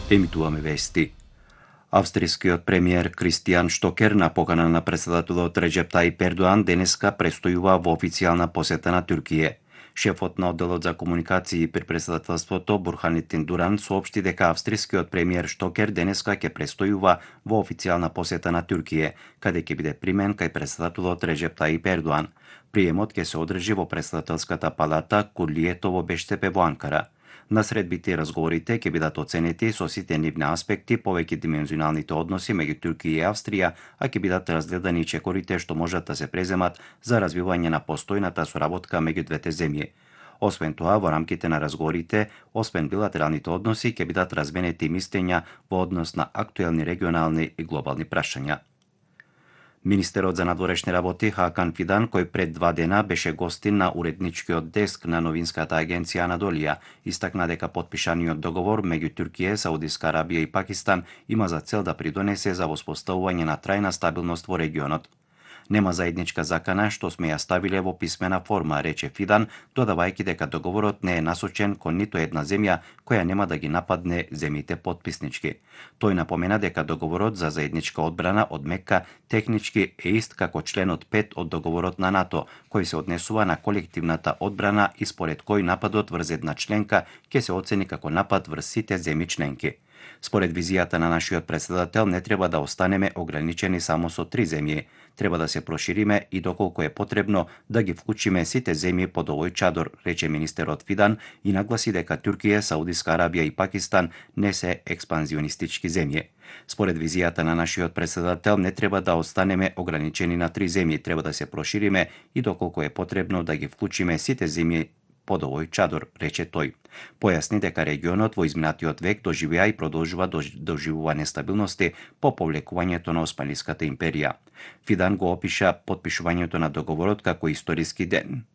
Емитуваме вести. Австријскиот премиер Кристијан Штокер на покана на претседателот Реџеп Тајип Ердоан денеска престојува во официјална посета на Туркија. Шефот на одделот за комуникации при претседателството Бурханетин Дуран соопшти дека австрискиот премиер Штокер денеска ќе престојува во официјална посета на Туркија, каде ќе биде примен кај претседателот Реџеп Тајип Ердоан. Приемот ќе се одржи во претседателската палата Курлието во Бештепе во Анкара. На средбите и разговорите ќе бидат оценети со сите нивни аспекти, повеќе димензионалните односи меѓу Туркија и Австрија, а ќе бидат разгледани чекорите што можат да се преземат за развивање на постојната соработка меѓу двете земји. Освен тоа, во рамките на разговорите, освен билатералните односи, ќе бидат разменети мислења во однос на актуелни регионални и глобални прашања. Министерот за надворешни работи Хакан Фидан, кој пред 2 дена беше гостин на уредничкиот деск на новинската агенција Анадолија, истакна дека потпишаниот договор меѓу Туркија, Саудиска Арабија и Пакистан има за цел да придонесе за воспоставување на трајна стабилност во регионот. Нема заедничка закана што сме ја ставиле во писмена форма, рече Фидан, додавајќи дека договорот не е насочен кон ниту една земја која нема да ги нападне земјите потписнички. Тој напомена дека договорот за заедничка одбрана од Мекка технички е ист како членот 5 од договорот на НАТО, кој се однесува на колективната одбрана и според кој нападот врз една членка ќе се оцени како напад врз сите земји членки. Според визијата на нашиот претседател не треба да останеме ограничени само со 3 земји. Треба да се прошириме и доколку е потребно да ги вклучиме сите земји под овој чадор, рече министерот Фидан и нагласи дека Туркија, Саудиска Арабија и Пакистан не се експанзионистички земји. Според визијата на нашиот претседател не треба да останеме ограничени на 3 земји, треба да се прошириме и доколку е потребно да ги вклучиме сите земји под овој чадор, рече тој. Појасни дека регионот во изминатиот век доживеа и продолжува доживува нестабилности по повлекувањето на Османлиската империја. Фидан го опиша потпишувањето на договорот како историски ден.